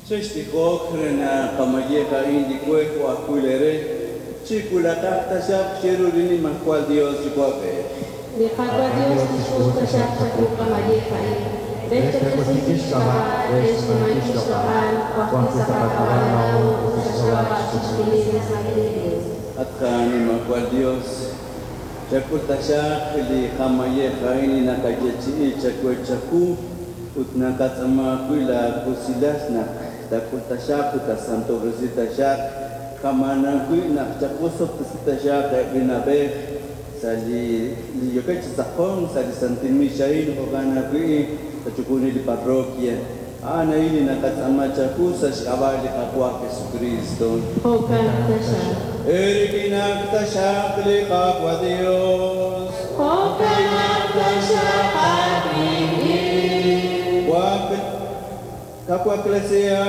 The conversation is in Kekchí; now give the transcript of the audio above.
Chextijoq re naq qamayej a'in li we jo' ajwi' leere chiwulaqaq taxaq chiru li Nimajwal Yos Yuwa'b'ej. Li Qaawa' Yos tixk'ul taxaq chawu qamayej a'in, re xch'och'osinkil xk'ab'a', re xnimankil xloq'al, jo' ajwi' sa' qak'ab'a' laa'o ut sa' xk'ab'a' chixjunil li santil Iglees. At qaNimajwal Yos, chak'ul taxaq li qamayej a'in li naqayeechi'i chawe chawu ut naqatz'aama ajwi' laawusilal naq taak'ul taxaq ut taasantob'resi taxaq kama'an ajwi' naq chawosob'tesi taxaq eb' li na'b'ej sa' li li yookeb' chi tz'aqonk sa' li santil miix a'in jo'kan ajwi' sa' chixjunil li parroquia. A'an a'in li naqatz'aama chawu sa' xk'ab'a' li Qaawa' Jesucristo. Jo'kan taxaq. Eerik'inaq taxaq li Qaawa' Dios. Jo'kanaq taxaq aawik'in. Kawaklesiha.